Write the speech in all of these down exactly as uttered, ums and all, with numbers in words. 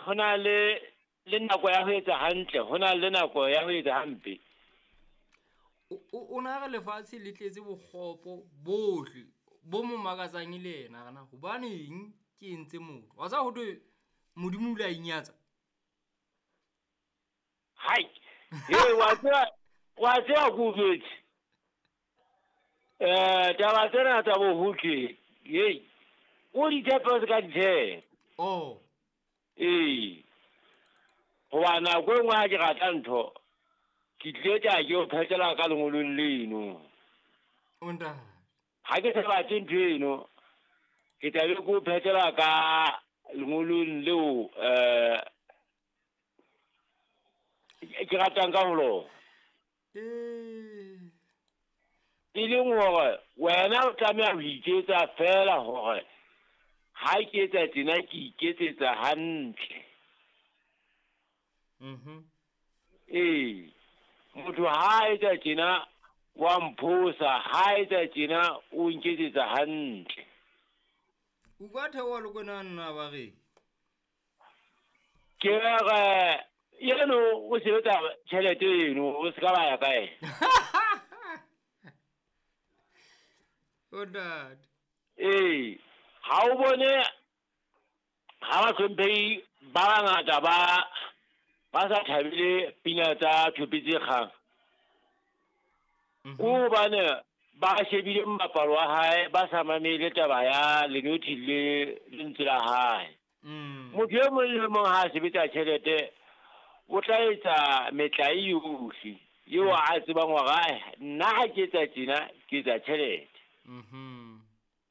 ho na le le nako ya ho etsa hantle, ho na le nako ya ho etsa hampe. O na re lefatshe le tletse bokgopo bohle bo mo makatsang e le yena hore na hobaneng ke entse motho. Wa tseba ho thwe Modimo o ile a inyatsa. Hai, he wa tseba wa tseba ke o jwetse. Eh, taba tsena tsa bohotle, hei, o di tshepe se ka di tshepa. Oh. Ee. Hoba nako e nngwe ha ke rata ntho, ke tlile tla ke o phetela ka lengolong leno. O ntate. Ha ke sa batle ntho eno, ke tla be ke o phetela ka lengolong leo eh ke ratang ka ho lona. Eh. E leng hore wena o tlameha ho iketsa feela hore ha ke etsa tjena ke iketsetsa hantle. Mhm. Ee. Motho ha etsa tjena wa mphosa, ha etsa tjena o nketsetsa hantle. O ka theoha le kwena nna ba re. Ke re eno o sebetsa tjhelete eno, o se ka ba ya kae. O ntate. Ee, ha o bone ha bahlomphehi ba bangata ba ba sa thabele pina tsa Thope tse kgang. Mhm. Ko hobane ba shebile mmapalo wa hae, ba sa mamele taba ya lenothi le lentswe la hae. Mm. Motho e mong le mong ha a sebetsa tjhelete, o tla etsa metlae yohle eo a tsebang hore, ai, nna ha ke etsa tjena, ke etsa tjhelete. Mhm.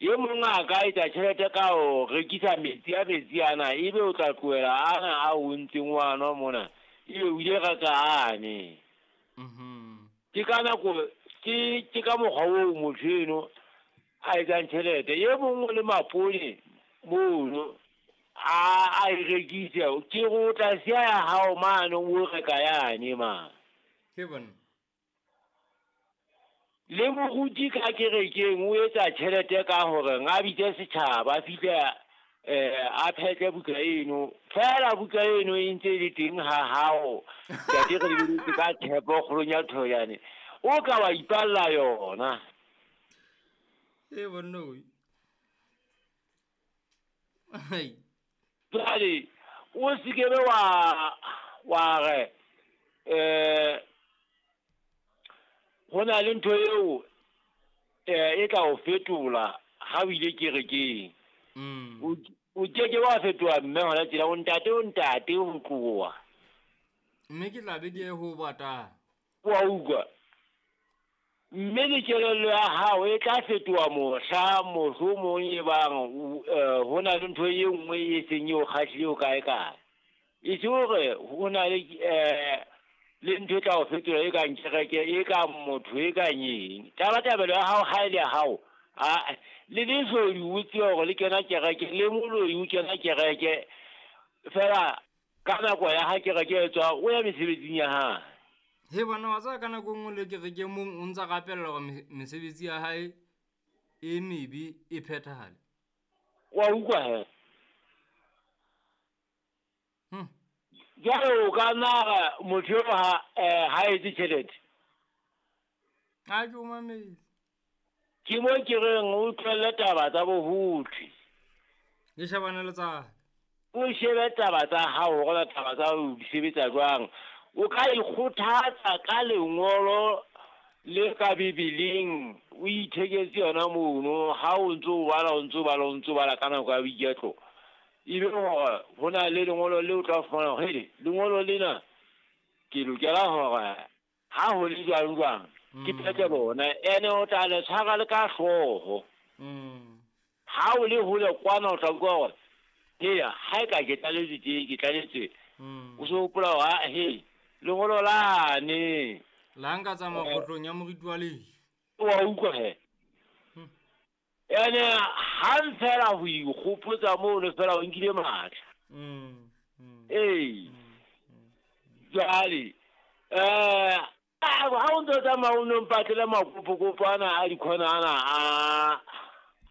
E mong a ka etsa tjhelete ka ho rekisa metsi a metsi ana, ebe o tla tlohela ana a o ntseng wa nwa mona, ebe o ile reka ane. Mhm. Ke ka nako, ke, ke ka mokgwa oo motho eno a etsang tjhelete. E mong o le mapone mono, a, a e rekise, ke re o tla siya ya hao mane o reka yane mane. Ke bona. Le moruti ka kerekeng o etsa tjhelete ka hore a bitse setjhaba, a fihle, eh, a phetle buka eno. Feela buka eno e ntse e le teng ha hao. Ntate re lebeletse ka tshepo kgolong ya Thoyane. O ka wa ipalla yona. E bonna oi. Ai. Jwale o se ke be wa, wa re, eh, ho na le ntho eo, eh, e tla o fetola ha o ile kerekeng. Mm. O, o ke ke wa fetoha mme hona tjena, o ntate, o ntate ho tloha. Mme ke tla be ke ye ho batang. Wa utlwa? Mme le kelello ya hao e tla fetoha mohla mohlomong e bang o, eh, ho na le ntho e nngwe e seng e o kgahlile ho kae kae. E se hore ho na le, eh, le ntho e tla o fetola e kang kereke, e kang motho, e kang eng. Tabatabelo ya hao ha e le ya hao, a, le lesodi o tsebe hore le kena kereke, le moloi o kena kereke, feela ka nako ya ha kereke e tswa, o ya mesebetsing ya hae. He bona, wa tseba ka nako e nngwe le kereke mong o ntsa rapella hore me-, mesebetsi ya hae e mebe e phethahale. Wa utlwa he? Hmm. Jwale o ka nna ra motho eo ha, eh, ha etse tjhelete. Ha ke o mametse. Ke mo ke reng o tlohelle taba tsa bohotle. Le shebane le tsa ka. O shebe taba tsa hao hore na taba tsa hao di sebetsa jwang. O ka ikgothatsa ka lengolo le ka Bibeleng, o itheketse yona mono, ha o ntso o bala, o ntso o bala, o ntso o bala ka nako ya boiketlo. Ebe hore ho na le lengolo leo o tla fumana hore, hele, lengolo lena ke lokela hore ha ho le jwang jwang, ke Mm. phethe lona. Ene o tla le tshwara le ka hlooho. Mm. Ha o le hole kwana o tla utlwa hore, heya, ha e ka ke tlaletswe tje, ke tlaletswe. Mm. O so hopola hore, ah, he, lengolo lane. La nka tsamaya Eh. kgohlong ya moriti wa lefu. Wa utlwa he? Hmm. Ene hang feela ho ikgopotsa mono feela o nkile matla. Mm, mm. Ee. Mm, mm. Jwale, eh, ha o ntso tsamaya o no mpatlele makopokopo ana a dikhona ana a,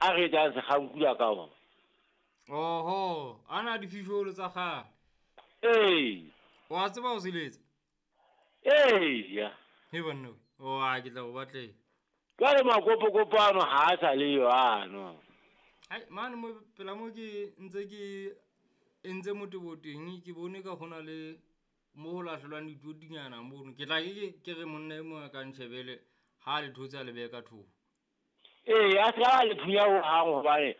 a re etsang sekgankula ka ona. Oho, ana a difisholo tsa kgale. Ee. Wa tseba ho seletsa? Eya. He banna we. O a ke tla go batlela. Jwale makopokopo ano ha a sa le yo ano. Ai mane mo pela mo ke ntse ke entse motebo teng ke bone ka hona le mo ho lahlelwang ditotinyana mono. Ke tla ke ke re monna e mong a ka ntjhebele ha le thotse a le behe ka thoko. Ee, a se ka le phunya hohang hobane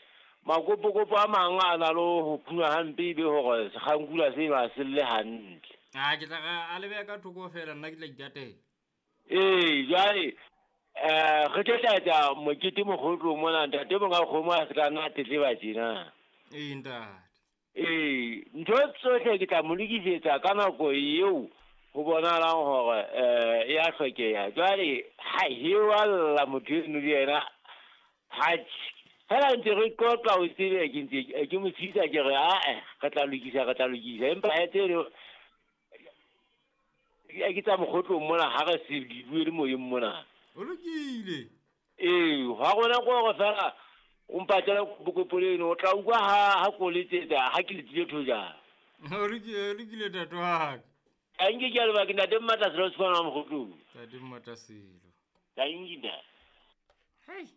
makopokopo a mang a na le ho phunya hampe ebe hore sekgankula seno ha se lle hantle. A ke tla re a le behe ka thoko feela nna ke tla itatela. Ee, jwale eh re tlo tla etsa mokete mokgotlong mona ntate monga kgomo a se ka nna a tletleba tjena. Ee ntate. Ee, ntho tsohle ke tla mo lokisetsa ka nako eo ho bonahalang hore eh e a hlokeha. Jwale ha he wa lla motho eno le yena ha fela ntse re qoqa o tsebe ke ntse ke mo tshisa ke re ae re tla lokisa re tla lokisa empa he tseno ke tsa mokgotlong mona ha re se di bue le moyeng mona. O lokile. Ee, ha rona ke hore fela o mpatlela kopo leno o tla utlwa ha ha ko letsetsa ha ke letile thojana. O lokile, o lokile ntate wa ka. Tanki ke a leboha ke ntate Mmatla Selo Sekwana wa Mokgotlong. Ntate Mmatla Selo. Tanki ntate. Hei.